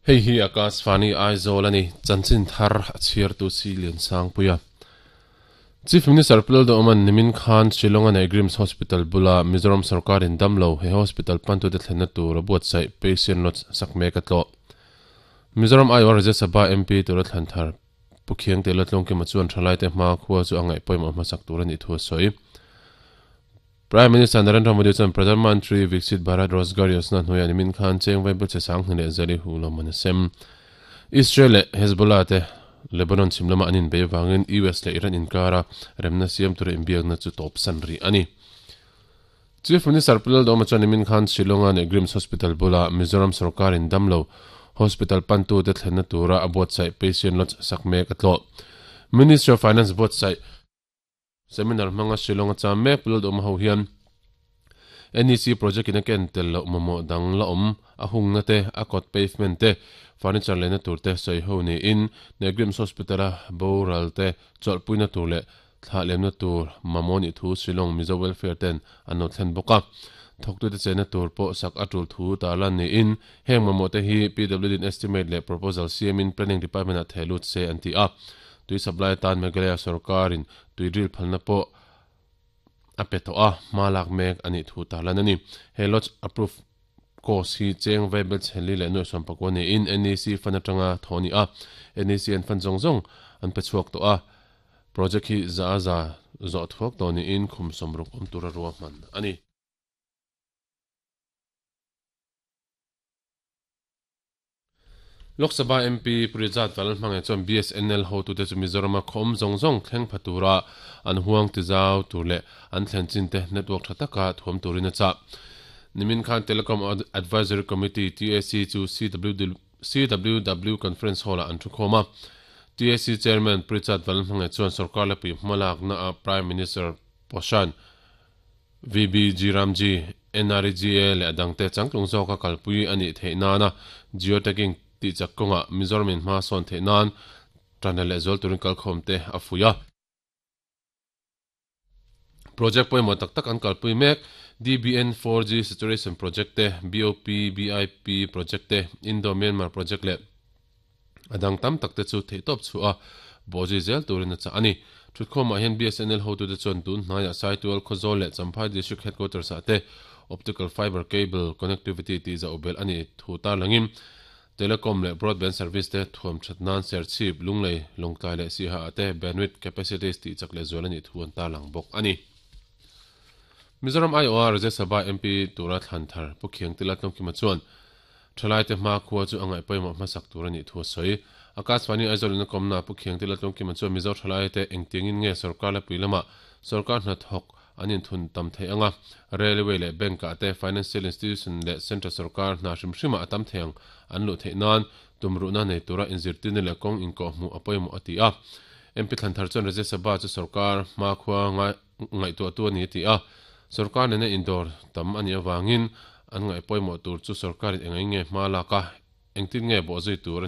Hei hi Akashvani Aizawl a ni, chanchin thar a chhiartu si Liansangpuia. Chief Minister Pu Lalduhawma'n nimin khan Shillong-a nei Grims Hospital bula Mizoram sorkarin damlo he hospital pantute thlenna tur a buatsaih Patient Lodge sak mek a tlawh. Mizoram aiawh Rajya Sabha MP tura thlan thar Pu Khiangte Latlawngkima chuan thalaite hma khua chu a ngaih pawimawh hmasak tur a nih thu a sawi. Prime Minister Narendra Modi chuan Pradhan Mantri Viksit Bharat Rozgar Yojana hnuaiah nimin khan cheng vaibel che sanghnih leh zali hu lawmman a sem. Israel leh Hezbollah te Lebanon chhim lama an inbei avangin US leh Iran inkara remna siam tura inbiakna chu tawpsan rih a ni. Chief Minister Pu Lalduhoma chuan nimin khan Shillong-a leh Grims Hospital bula Mizoram sorkarin damlo hospital pantute thlenna tura a buatsaih Patient Lodge sak mek a tlawh. Ministry of Finance buatsaih Seminar hmanga Shillong-a cham mek Pu Lalduhoma ho hian NEC project in a ken tel loh mamawh dang la awm a hungna te, a kawt pavement te, furniture lehna tur te sawi ho niin Negrims Hospital-a boral te chawlhpuina tur leh Thlah lemna tur mamawh nih thu Shillong Mizo Welfare ten an lo thlen bawk a. Thawktute chenna tur pawh sak a tul thu tarlan niin heng mamawh te hi PWD in estimate leh proposal siamin Planning Department ah theh lut se an ti a. Tui supply atan Meghalaya sorkarin tui drill phalna pawh a pe tawh a, hma lak mek a nih thu tarlan a ni. He lodge approve course hi cheng vaibel chheli leh nuaih sawmpakua niin NEC fund atanga thawh a ni a. NEC an fund zawng zawng an pe chhuak tawh a. Project hi za a za zawh thuak tawh niin khum sawmruk awm tura ruahman a ni. Lok Sabha MP Pu Rizat Vanlalhmangaih chuan BSNL hotute chu Mizorama khaw awm zawng zawng thleng pha tura an huang tizau tur leh an thlen chin te network tha taka thuam turin a chah. Nimin khan Telecom Advisory Committee, TAC, chu CWW Conference Hall-ah an thukhawm a. TAC Chairman Prichard Vanlalhmangaih chuan sorkar lepui hmalaknaah Prime Minister Poshan, VBG Ramji, NREGA leh a dangte changtlung zawka kalpui a nih theih nana geotagging tihchak kawngah Mizoramin hma sawn theih nan tanla lehzual turin kalkhawmte a fuih a. Project pawimawh tak tak an kalpui mek, DBN 4G Saturation Project te, BOP BIP Project te, Indo-Myanmar Project leh a dang tam tak te chu theihtawp chhuah a bawhzui zel turin a chah a ni. Thutkhawmah hian BSNL hotute chuan tun hnaiah Saitual, Khawzawl leh Champhai District Headquarters ah te Optical Fibre Cable Connectivity tih zauh belh a nih thu tarlangin Telecom leh Broadband Service te thuam that nan Serchhip, Lunglei, Lawngtlai leh Siha ah te Bandwidth Capacities tih chak leh zual a nih thu an tarlang bawk a ni. Mizoram aiawha Rajya Sabha MP tura thlan thar Pu Khiangtila Tlawngkima chuan thalaite hmakhua chu a ngaih pawimawh hmasak tur a nih thu a sawi. Akashvani Aizawl in a kawmna Pu Khiangtila Tlawngkima chuan Mizo thalaite engtiangin nge sorkar lepui lama sorkar hnathawk an inthun tam thei ang a, Railway leh Bank ah te, Financial Institution leh Central Sorkar hna hrim hrimah a tam thei ang an luh theih nan tumruhna nei tura inzirtirna leh kawng inkawhhmuh a pawimawh a ti a. MP Thlanthar chuan Rajya Sabha chu sorkar hmakhua ngaihtuahtu a ni a ti a, sorkar nena indawr tam a nih avangin an ngaih pawimawh tur chu sorkarin eng eng nge hma lak a, engtin nge bawhzui tur a nih.